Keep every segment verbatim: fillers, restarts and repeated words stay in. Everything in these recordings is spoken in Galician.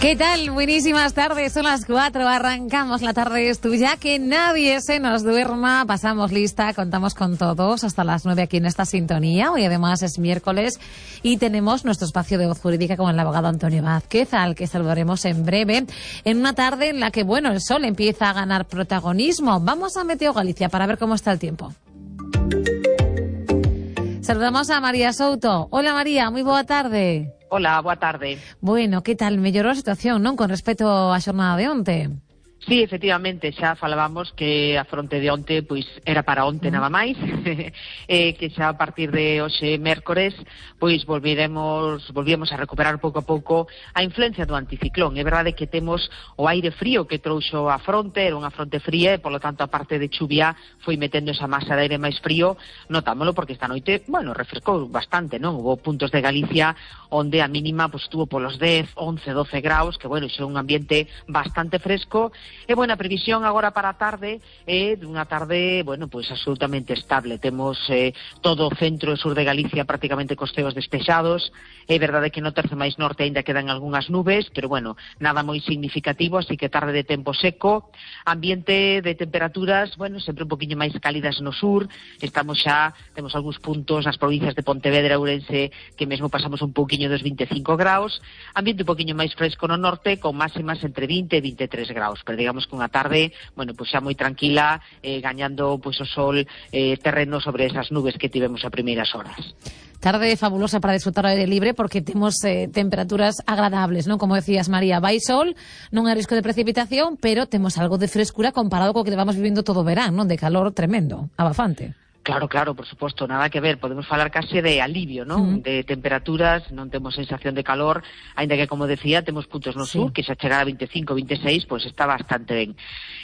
¿Qué tal? Buenísimas tardes, son las cuatro, arrancamos la tarde es tuya, que nadie se nos duerma, pasamos lista, contamos con todos hasta las nueve aquí en esta sintonía. Hoy además es miércoles y tenemos nuestro espacio de voz jurídica con el abogado Antonio Vázquez, al que saludaremos en breve, en una tarde en la que, bueno, el sol empieza a ganar protagonismo. Vamos a Meteo Galicia para ver cómo está el tiempo. Saludamos a María Souto. Hola María, moi boa tarde. Hola, boa tarde. Bueno, que tal? Mellorou a situación, non? Con respecto á xornada de onte. Sí, efectivamente, xa falábamos que a fronte de onte pois era para onte mm. nada máis, eh, que xa a partir de hoxe mércores pois volviremos, volvíamos a recuperar pouco a pouco a influencia do anticiclón. É verdade que temos o aire frío que trouxo a fronte, era unha fronte fría e, polo tanto, a parte de chuvia foi metendo esa masa de aire máis frío. Notámoslo porque esta noite, bueno, refrescou bastante, non? Hubo puntos de Galicia onde a mínima pois estuvo polos dez, once, doce graus, que, bueno, xa é un ambiente bastante fresco. E, bueno, a previsión agora para a tarde é dunha tarde, bueno, pois absolutamente estable. Temos eh, todo o centro e sur de Galicia prácticamente cos ceos despexados. É verdade que no terzo máis norte aínda quedan algunhas nubes, pero, bueno, nada moi significativo, así que tarde de tempo seco. Ambiente de temperaturas, bueno, sempre un poquinho máis cálidas no sur. Estamos xa, temos algúns puntos nas provincias de Pontevedra e Ourense que mesmo pasamos un pouquiño dos vinte e cinco graus. Ambiente un poquinho máis fresco no norte, con máximas entre vinte e vinte e tres graus. Pero digamos que unha tarde, bueno, pois xa moi tranquila, eh, gañando pois o sol eh, terreno sobre esas nubes que tivemos a primeiras horas. Tarde fabulosa para disfrutar ao aire libre porque temos eh, temperaturas agradables, non? Como decías, María, vai sol, non hai risco de precipitación, pero temos algo de frescura comparado co que vamos vivindo todo o verán, non? De calor tremendo, abafante. Claro, claro, por suposto, nada que ver, podemos falar case de alivio, non? Mm. De temperaturas, non temos sensación de calor, aínda que, como decía, temos puntos no sí. sur, que xa chegar a vinte e cinco, vinte e seis, pois está bastante ben.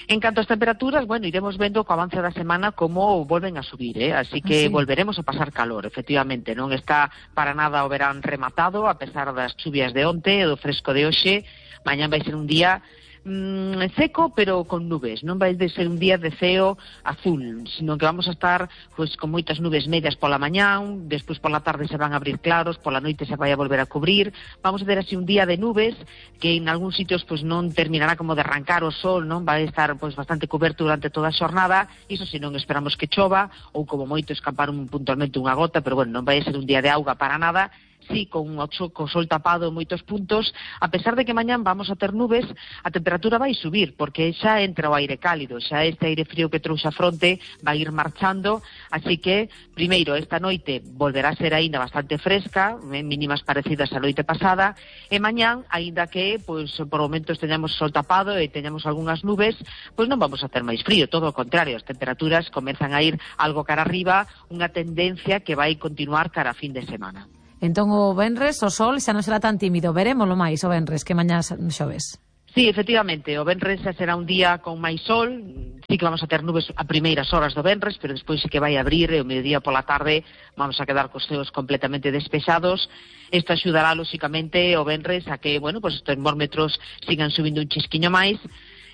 En canto ás temperaturas, bueno, iremos vendo co avance da semana como volven a subir, eh? Así que sí. volveremos a pasar calor, efectivamente, non está para nada o verán rematado, a pesar das chuvias de onte e do fresco de hoxe. Mañán vai ser un día Mm, seco, pero con nubes. Non vai de ser un día de ceo azul, sino que vamos a estar pues, con moitas nubes medias pola mañán, despois pola tarde se van a abrir claros, pola noite se vai a volver a cubrir. Vamos a ter así un día de nubes que en algúns sitios pues, non terminará como de arrancar o sol, non vai estar pues, bastante coberto durante toda a xornada. Iso se non esperamos que chova, ou como moito escapar un, puntualmente unha gota, pero bueno, non vai ser un día de auga para nada. Sí, con o sol tapado en moitos puntos, a pesar de que mañán vamos a ter nubes, a temperatura vai subir, porque xa entra o aire cálido, xa este aire frío que trouxe a fronte vai ir marchando, así que, primeiro, esta noite volverá a ser aínda bastante fresca, mínimas parecidas á noite pasada, e mañán, aínda que, pois, por momentos teñamos sol tapado e teñamos algunhas nubes, pois non vamos a ter máis frío, todo o contrario, as temperaturas comezan a ir algo cara arriba, unha tendencia que vai continuar cara a fin de semana. Entón o venres o sol xa non será tan tímido, verémolo máis o venres que mañá xoves. Sí, efectivamente, o venres xa será un día con máis sol, sí que vamos a ter nubes a primeiras horas do venres, pero despois sí que vai abrir e o mediodía pola tarde vamos a quedar cos ceos completamente despexados. Isto axudará, lóxicamente, o venres a que, bueno, pues os termómetros sigan subindo un chisquiño máis.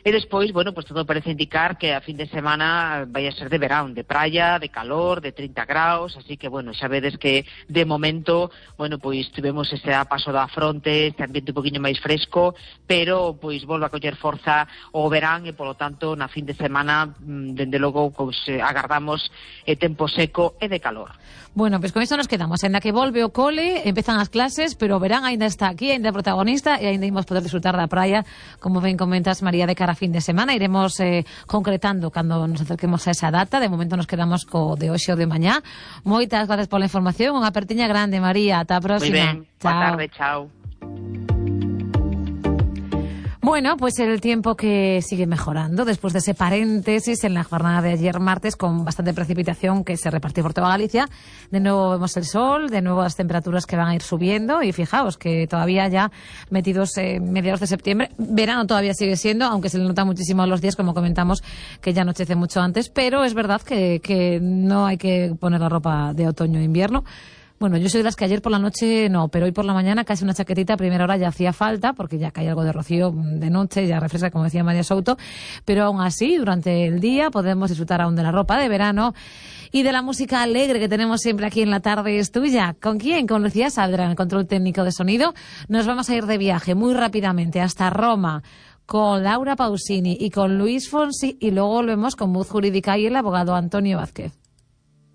E despois, bueno, pues todo parece indicar que a fin de semana vai a ser de verán, de praia, de calor, de trinta graus, así que, bueno, xa vedes que de momento, bueno, pois tivemos ese paso da fronte, este ambiente un poquinho máis fresco, pero, pois, volve a coller forza o verán e, polo tanto, na fin de semana, dende logo, pois, agardamos eh, tempo seco e de calor. Bueno, pois con isto nos quedamos, en la que volve o cole, empezan as clases, pero o verán aínda está aquí, aínda é protagonista e aínda imos poder disfrutar da praia, como ben comentas, María, de cara a fin de semana. Iremos eh, concretando cando nos acerquemos a esa data. De momento nos quedamos co de hoxe ou de mañá. Moitas gracias pola información, unha apertiña grande, María, ata a próxima. Moi ben, boa tarde, chao. Bueno, pues el tiempo que sigue mejorando después de ese paréntesis en la jornada de ayer martes con bastante precipitación que se repartió por toda Galicia. De nuevo vemos el sol, de nuevo las temperaturas que van a ir subiendo y fijaos que todavía ya metidos en mediados de septiembre, verano todavía sigue siendo, aunque se le nota muchísimo los días, como comentamos, que ya anochece mucho antes, pero es verdad que, que no hay que poner la ropa de otoño e invierno. Bueno, yo soy de las que ayer por la noche no, pero hoy por la mañana casi una chaquetita a primera hora ya hacía falta, porque ya cae algo de rocío de noche, ya refresca, como decía María Souto, pero aún así, durante el día podemos disfrutar aún de la ropa de verano y de la música alegre que tenemos siempre aquí en La Tarde es Tuya. ¿Con quién? Con Lucía Saldra, en el control técnico de sonido. Nos vamos a ir de viaje muy rápidamente hasta Roma, con Laura Pausini y con Luis Fonsi, y luego volvemos con Voz Jurídica y el abogado Antonio Vázquez.